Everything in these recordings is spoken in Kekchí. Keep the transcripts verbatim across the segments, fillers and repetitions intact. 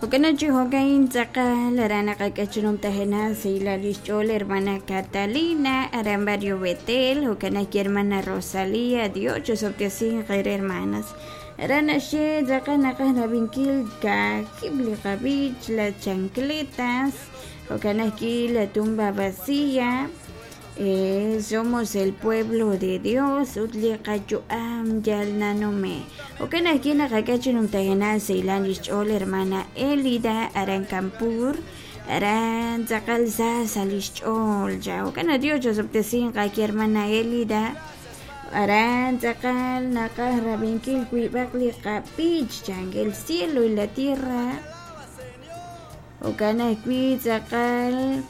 Jo'kan chi jo'kan tz'aqal aran naqak'e numtajenaq sahilal lix ch'ool hermana Catalina aran barrio Betel, jo'kan ajwi' hermana Rosalía. Dios chosob'tesinq eere, hermanas. Aran naxye tz'aqal naqaj rab'inkil kaajib' li qab'ich, las chancletas, jo'kan ajwi' la tumba vacía, eh, somos el pueblo de Dios ut li qayu'am yal nanume'. Jo'kan ajwi' naqak'e chi numtajenaq sahilal lix ch'ool hermana Elida aran Campur, aran tz'aqal sa sa lix ch'ool cha. Jo'kan Dios chosob'tesinq ajwi' hermana Elida, aran tz'aqal naqaj rab'inkil wiib'aq li qab'ich chan, el cielo y la tierra. Jo'kan ajwi' tz'aqal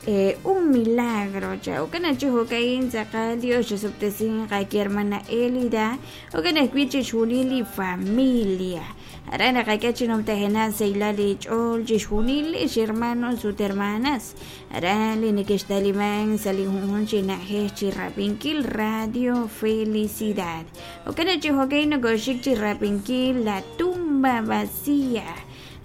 eh, un milagro cha. Jo'kan chi jo'ka'in tz'aqal Dios chosob'tesinq ajwi' hermana Elida, jo'kan ajwi' chixjunil li familia. Aran naqak'e chi numtajenaq sahilal li ch'ool chixjunil lix hermanos ut hermanas aran li neke'xtaliman sa' li junjunq chi na'ajej chi rab'inkil Radio Felicidad. Jo'kan chi jo'ka'in nokoxik chi rab'inkil la tumba vacía.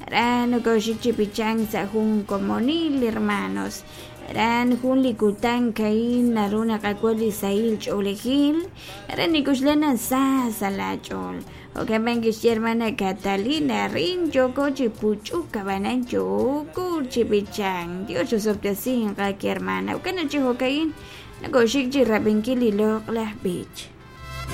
Aran nokoxik chi b'ichank sa' jun komonil, hermanos. Aran jun li kutan ka'in naru naqak'ul li sahil ch'oolejil, aran nikuxlana sa sa' la ch'ool. Jo'kan b'an kixye hermana Catalina, rin yooko chi puch'uk ab'anan yooko chi b'ichank. Dios chosob'tesinq ajwi' hermana. Jo'kan chi jo'ka'in nokoxik chi rab'inkil li loq'laj b'ich.